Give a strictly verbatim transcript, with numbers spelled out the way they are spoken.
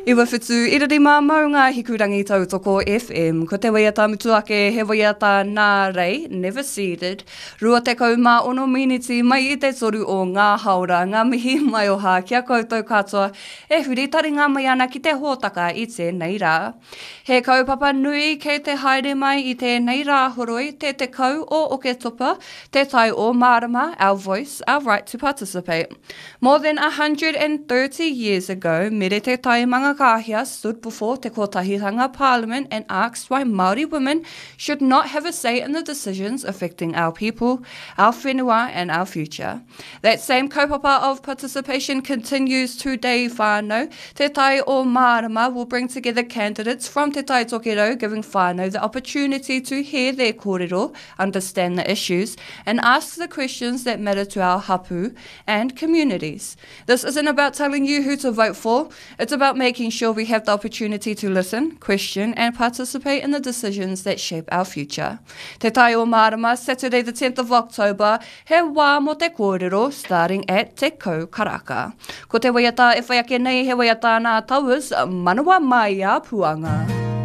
Iwa whitu, ira rima maunga hikurangi tautoko FM. Ko te waiata mutu ake he waiata nā Rei, Never Seated. Rua tekau mā ono miniti mai i te toru o ngā haora, ngā mihi maioha ki a koutou katoa e huri taringa mai ana ki te hōtaka i tēnei rā. He kaupapa nui kei te haere mai i tēnei rā horoi, te tekau o Oketopa, te tai o Marama, our voice, our right to participate. More than a hundred and thirty years ago, Mere Te Tai Mangakāhia stood before Te Kotahitanga Parliament and asked why Māori women should not have a say in the decisions affecting our people, our whenua and our future. That same kaupapa of participation continues today, whānau. Te Tai o Marama will bring together candidates from Te Tai Tokerau, giving whānau the opportunity to hear their kōrero, understand the issues, and ask the questions that matter to our hapu and communities. This isn't about telling you who to vote for. It's about making sure we have the opportunity to listen, question, and participate in the decisions that shape our future. Te Tai o Marama, Saturday the tenth of October, he wā mō te kōrero, starting at Te Kau Karaka. Ko te waiata e whai ake nei he waiata nā Towers, Manawa Mai a Puanga.